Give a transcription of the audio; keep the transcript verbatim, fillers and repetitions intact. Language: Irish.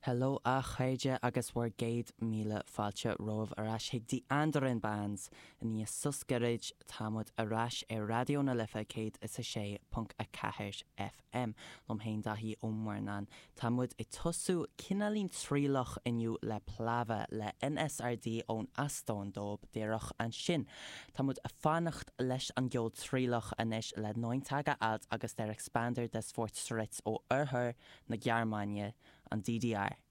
Hello a chairde agus bhur gcéad míle fáilte romhaibh ar ais chuig Die Anderen Bands i ndiaidh sos gairid tá muid ar ais ar Raidió na Life céad is a sé ponc a ceathair FM. Liom féin Daithí Ó Murnáin. Tá muid ag tosú cineáilín trialach inniu le Plava le NSRD ón Eastóin dóibh díreach ansin. Tá muid ag fanacht leis an gceol trialach anois le Neun Tage Alt agus Der Expander des Fortschritts ó oirthear na Gearmáine an DDR.